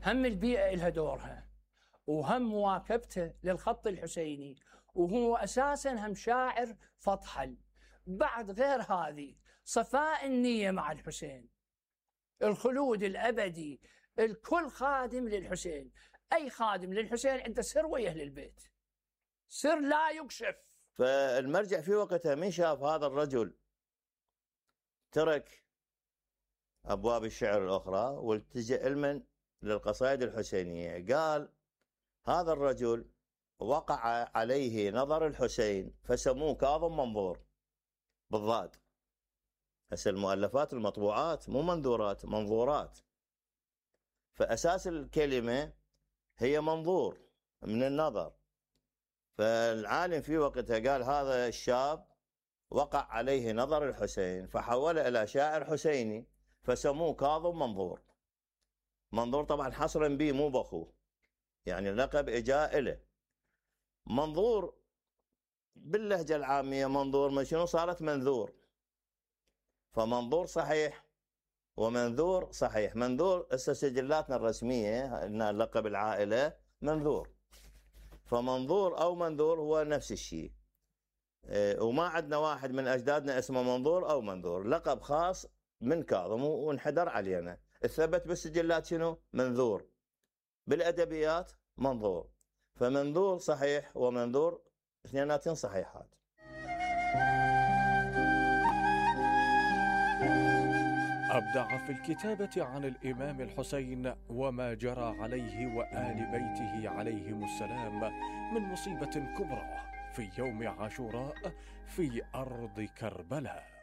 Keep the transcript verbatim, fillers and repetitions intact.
هم البيئة إلها دورها، وهم مواكبته للخط الحسيني، وهو أساسا هم شاعر فطحل. بعد غير هذه صفاء النية مع الحسين، الخلود الأبدي، الكل خادم للحسين. أي خادم للحسين عنده سر ويا أهل البيت، سر لا يكشف. فالمرجع في وقتها من شاف هذا الرجل ترك أبواب الشعر الأخرى والتجأ علما للقصائد الحسينية، قال هذا الرجل وقع عليه نظر الحسين فسموه كاظم منظور بالضاد. هسه المؤلفات المطبوعات مو منذورات، منظورات، فأساس الكلمة هي منظور من النظر. فالعالم في وقتها قال هذا الشاب وقع عليه نظر الحسين فحوله إلى شاعر حسيني فسموه كاظم منظور. منظور طبعا حصرا به مو بأخوه، يعني لقب إجاء إله. منظور باللهجة العامية منظور ما شنو صارت منذور، فمنظور صحيح ومنذور صحيح. منذور هسه سجلاتنا الرسمية ان لقب العائلة منذور، فمنظور او منذور هو نفس الشيء. اه وما عندنا واحد من اجدادنا اسمه منظور او منذور، لقب خاص من كاظم وانحدر علينا. الثبت بالسجلات شنو؟ منذور، بالادبيات منظور. فمنذور صحيح ومنذور اثنيناتين صحيحات. أبدع في الكتابة عن الإمام الحسين وما جرى عليه وآل بيته عليهم السلام من مصيبة كبرى في يوم عاشوراء في أرض كربلاء.